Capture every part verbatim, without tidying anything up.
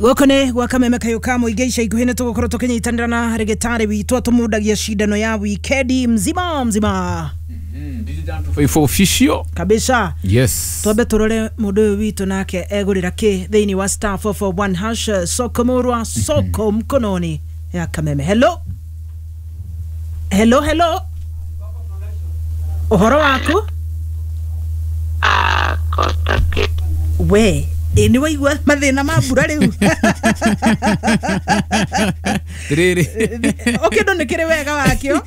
Gũkũ nĩ gwa Kameme Kayũ ka Mũingĩ. Ica ikuhĩ nĩ tũgũkorwo tũkĩnyitanĩra na rĩgĩtarĩ witũ atũmundagia cindano ya wikendi mzima mzima. Five official. Kabisa. Yes. Twambe tũrore mũndũ ũyũ witũ nake egũrĩra kĩ thĩinĩ wa star four four one hash, soko murwa, soko mkononi ya Kameme. Hello, hello, hello, ũhoro waku? We ĩ nĩ waigua mathĩna ma mbura rĩu? Rĩrĩ. O kĩndũ nĩ kĩrĩ wega wakĩo.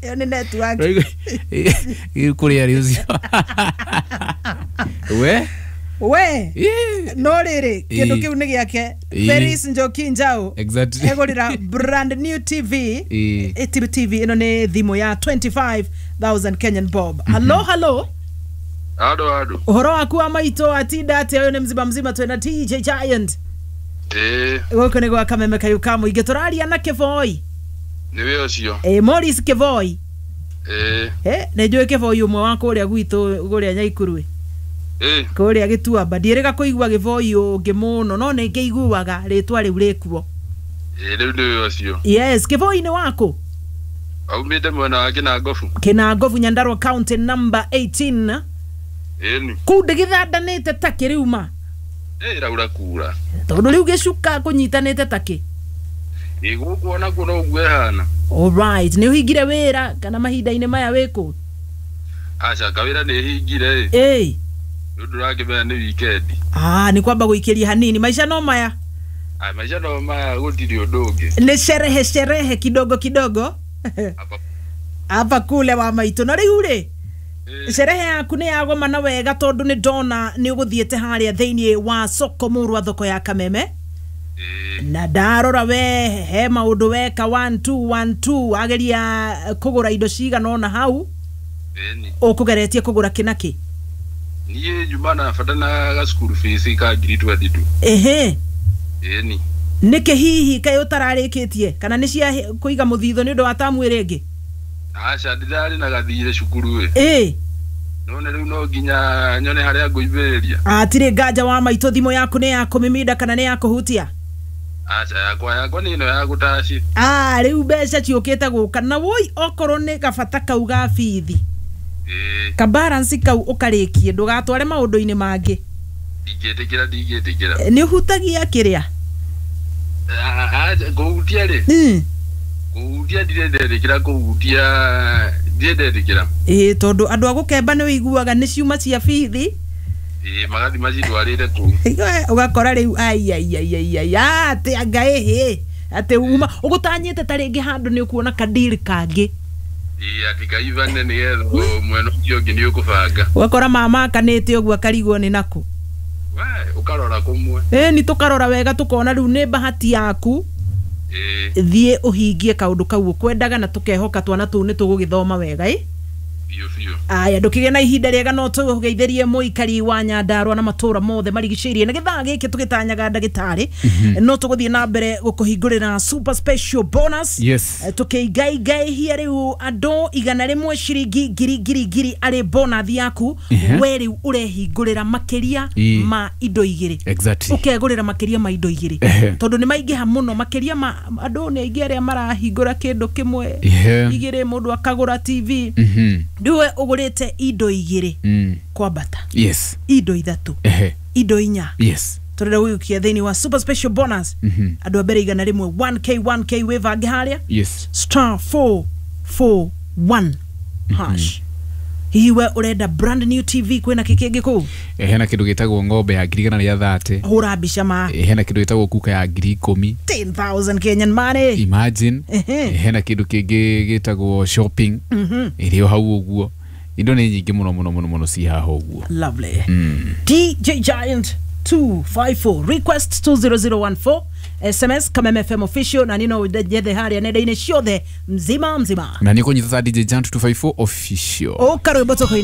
Ĩyo nĩ network. Kũrĩa rĩ ũcio we. We Ĩ. No rĩrĩ, kĩndũ Ĩ. kĩu nĩ gĩake. Ĩ. Feris Njoki Njau Exactly. egũrĩra brand new T V. Ĩ. Ĩ, T V ĩno nĩ thimũ ya twenty-five thousand Kenyan bob. Hello, hello. Ado ado. Ũhoro waku wa maitũ, atinda atĩa? Ũyũ nĩ mzima mzima, twĩna D J Giant. Ĩĩ. Gũkũ nĩ gwa Kameme Kayũ ka Mũingĩ, tũraria na Kĩboi. Nĩwe ũcio. Ĩ, Morris Kĩboi. Ĩĩ. Ĩ, nĩ njũĩ Kĩboi ũmwe wa kũrĩa gwitũ kũrĩa Nyaikuru. Ĩĩ. Kũrĩa Gĩtuamba ndiĩrĩga kũigua Gĩboi ũngĩ mũno, no nĩ ngĩiguaga rĩtwa rĩu rĩkuo. Ĩĩ, rĩu nĩwe ũcio. Yes, Kĩboi nĩ waku? Aumĩte mwena wa Kĩnangobu. Kĩnangobu, Nyandarua County, number eighteen. Ĩni. Kũu ndĩgĩthandanĩte ta kĩriuma? Ĩĩ, ĩraura kura. Tondũ rĩu gĩcuka kũnyitanĩte takĩ. Ĩĩ, gũkũ onakuo no ũguo ĩhana. Alright, nĩ ũhingire wĩra kana mahinda-inĩ maya wĩkũ? Aca, kawĩra nĩ hingire ĩ. Ĩĩ. Nĩ ũndũ ũrakĩmenya nĩ weekend. Ah, nĩ kwamba gũikĩria hanini, maica no maya. Aya, maica no maya, gũtirĩ ũndũ ũngĩ. Nĩ sherehe sherehe kidogo kidogo. Hapa. Hapa kule wa maitũ. Na rĩu rĩ, Ĩĩ. sherehe yaku nĩ yagomana wega, tondũ nĩ ndona nĩ ũgũthiĩte harĩa thĩinĩ wa soko mũrwa, thoko ya Kameme. Ĩĩ. Na ndarora we he maũndũ weka one two one two, wageria kũgũra indo cigana ũna hau. Ĩni. Ũkũgeretie kũgũra kĩ na kĩ? Niĩ njuma na bata na ga school fees ka ngiri twenty two. Ehe. Ĩni. Nĩkĩ hihi kaĩ ũtararĩkĩtie, kana nĩ cia kũiga mũthitho nĩ ũndũ wa tamu ĩrĩa ĩngĩ? Aca, ndĩrarĩ na gathirĩ cukuru ĩ. Ĩ. None rĩu no nginya nyone harĩa ngũimbĩrĩria. Atirĩ nganja wa maitũ. Thimũ yaku nĩ ya kũmimida kana nĩ ya kũhutia? Aca, yakwa yakwa nĩ ĩno ya gũtaci. Ah, rĩu mbeca ciũkĩte gũka na woi, okorwo nĩ gabata kau ga bithi, Ĩĩ. kabaransi kau ũkarĩkie, ndũgatware maũndũ-inĩ mangĩ. Ndingĩtĩkĩra, ndingĩtĩkĩra. Nĩ ũhutagia kĩrĩa? Aca, kũhutia rĩ, Mm. kũhutia ndirĩ ndetĩkĩra, kũhutia ndirĩ ndetĩkĩra. Ĩĩ, tondũ andũ a gũkemba nĩ ũiguaga nĩ ciuma cia bithi. Ĩĩ, magathi macitwarĩte kũu. Ũgakora rĩu aiaiaiaiai, atĩ anga ĩhĩ atĩ uma ũgũtanyĩte ta rĩngĩ handũ nĩ ũkuona kadiri kangĩ. Ĩĩ, atĩ kaivane nĩgetha mwena ũcio ũngĩ nĩ ũkũbanga. Ũgakora mama akanĩte ũguo akarigwo nĩ nakũ. We ũkarora kũmwe. Ĩni, tũkarora wega tũkona rĩu nĩ bahati yaku. Ĩĩ. Thiĩ ũhingie kaũndũ kau ũkwendaga, na tũkehoka twana tũu nĩ tũgũgĩthoma wega ĩ. Biũ biũ. Aya, ndũkĩgĩe na ihinda rĩega. No tũgeithĩrie mũikari wa Nyandarua na matũra mothe marigicĩirie. Na gĩthaa gĩkĩ tũgĩtanyaga ndagĩtarĩ, no tũgũthiĩ na mbere gũkũhingũrĩra super special bonus. Yes. Eh, tũkĩingaingaihia rĩu andũ igana rĩmwe ciringi ngiri ngiri ngiri arĩ bonus yaku. Ehe. We rĩu ũrehingũrĩra makĩria Ĩ. ma indo igĩrĩ. Exactly. Ũkegũrĩra makĩria ma indo igĩrĩ, Ehe. tondũ nĩ maingĩha mũno. Makĩria ma andũ nĩ aingĩ arĩa marahingũra kĩndũ kĩmwe, Ehe. igĩrĩ, mũndũ akagũra T V. Mhm. Rĩu we ũgũrĩte indo igĩrĩ Mm. kwambata, Yes. indo ithatũ, Ehe. indo inya. Yes. Tũrenda gũgĩũkia thĩinĩ wa super special bonus Mhm. andũ a mbere igana rĩmwe one k one k. Wĩbange harĩa Yes. star four four one hash. Hihi we ũrenda brand new T V, kwĩna kĩ kĩngĩ kũu? Eh, hena kĩndũ gĩtagwo ng'ombe ya ngiri igana rĩa thate. Hũra mbica ma. Eh, hena kĩndũ gĩtagwo kuka ya ngiri ikũmi. ten thousand Kenyan money. Imagine. Ehe. Eh, hena kĩndũ kĩngĩ gĩtagwo shopping ĩrĩ o hau ũguo. Indo nĩ nyingĩ mũno mũno mũno mũno ci haha ũguo. Lovely. D J Giant two five four, request two zero zero one four, S M S Kameme F M official, na nino njethe harĩa nenda-inĩ ciothe mzima mzima. Na nĩ kũnyita ta D J Giant two five four official. Ũka rwĩmbo tũkũine.